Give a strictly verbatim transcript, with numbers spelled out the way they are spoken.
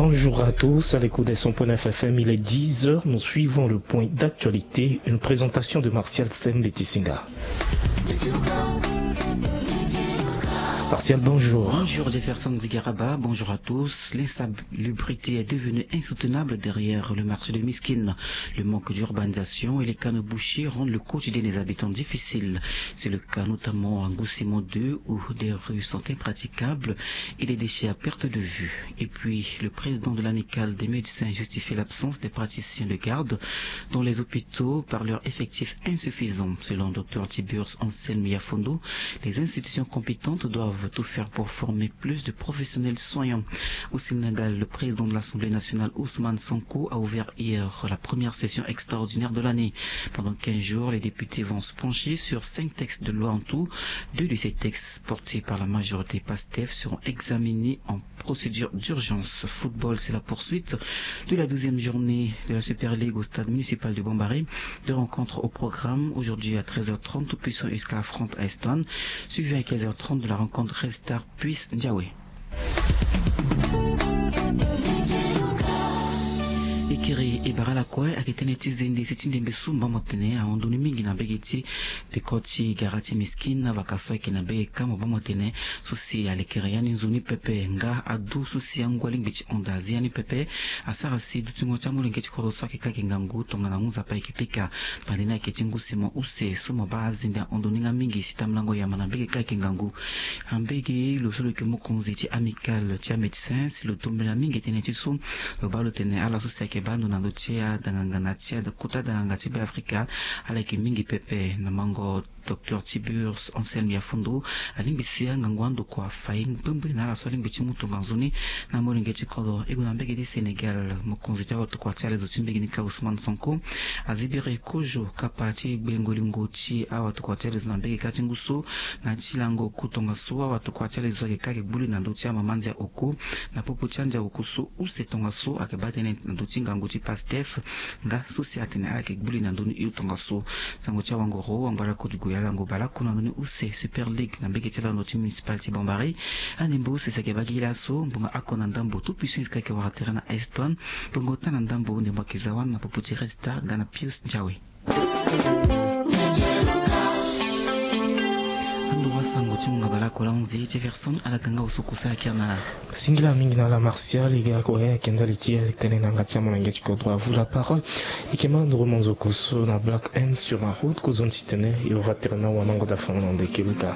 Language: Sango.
Bonjour à tous, à l'écoute des cent point neuf F M, il est dix heures, nous suivons le point d'actualité, une présentation de Martial Stem Betisinga. Martial, bonjour. Bonjour Jefferson Zigaraba, bonjour à tous. L'insalubrité est devenue insoutenable derrière le marché de Miskine. Le manque d'urbanisation et les canaux bouchés rendent le quotidien des habitants difficile. C'est le cas notamment à Ngoussimo deux où des rues sont impraticables et des déchets à perte de vue. Et puis, le président de l'amicale des médecins justifie l'absence des praticiens de garde dans les hôpitaux par leur effectif insuffisant. Selon Dr Tiburce Anselme Yafondo, les institutions compétentes doivent tout faire pour former plus de professionnels soignants. Au Sénégal, le président de l'Assemblée nationale, Ousmane Sonko, a ouvert hier la première session extraordinaire de l'année. Pendant quinze jours, les députés vont se pencher sur cinq textes de loi en tout. Deux de ces textes portés par la majorité PASTEF seront examinés en procédure d'urgence. Football, c'est la poursuite de la douzième journée de la Super League au stade municipal de Bambari. Deux rencontres au programme. Aujourd'hui à treize heures trente, Tout-Puissant U S K affronte Aston, suivi à quinze heures trente de la rencontre Red Star Puce Ndiawe. Ekiri e bara lakue ayeke tënë ti zende si ti ndembe so mo baa mo tene ahon ndoni mingi na mbege ti peko ti gara ti Miskine, avaka so ayeke na mbege kâ mo baa mo tene so si alekere ya ni nzoni pepe nga adu so si angua lingbi ti hon daa azi ya ni pepe. Asara si dutingo ti amolenge ti kodro so ayeke kâ ayeke ngangu tongana ngu nzapa ayeke pika. Pande ni ayeke ti ngu si mo use so mo baa azende ahon ndoni nga mingi si tambolango yama na mbege kâ ayeke ngangu. Ambege lo so lo yeke mokonzi ti amicale ti amédecin si lo tombela mingi tënë ti so lo baa lo tene ala so si ayeke baa ndo na ndö ti adanganga na ti akota danganga ti Beafrika, ala yeke mingi pepe na mango. Dr Tiburce Anselme Yafondo alingbi si angangu andokua afai mbembe na ala so alingbi ti mu tonga nzoni na molenge ti kodro. E gue na mbege ti Sénégal, mokonzi ti awatokua ti alezo ti mbege ni kâ Ousmane Sonko azibiri kozo kapa ti gbengo lingo ti awatokua ti alezo na mbege kâ ti ngu so na ti lango oku tongaso awatokua ti alezo ayeke kâ ayeke gbu li na ndö ti amama ndia oku na popo ti andia oku so use tongaso ayeke baa tënë na ndö ti ngangu ti PASTEF. Nga so si atene ala yeke gbu li na ndö ni hio tongaso. Sango ti awangoro wangba lakue ti gue alango baleoko na ndö ni use Super League na mbege ti lando ti municipal ti Bambari. Anembo use si ayeke baa gi laso ngbonga oko na ndambo Tout-Puissant U S K ayeke wara tere na Aston. Ngbonga ota na ndambo ndembo ayeke za wani na popo ti Red Star nga na Puce Ndiawe. Ando wasango ti munga baleoko la onze Jefferson ala ga nga osoko so ayeke na la. Singila mingi na la Martial e ga kue ayeke ndali ti tene na yanga ti amolenge ti kodro. À vous la parole. E yeke ma nduru monzoko so na Black M sur la route kozoni titene e ora tere na awamango dafango na ndeke luka.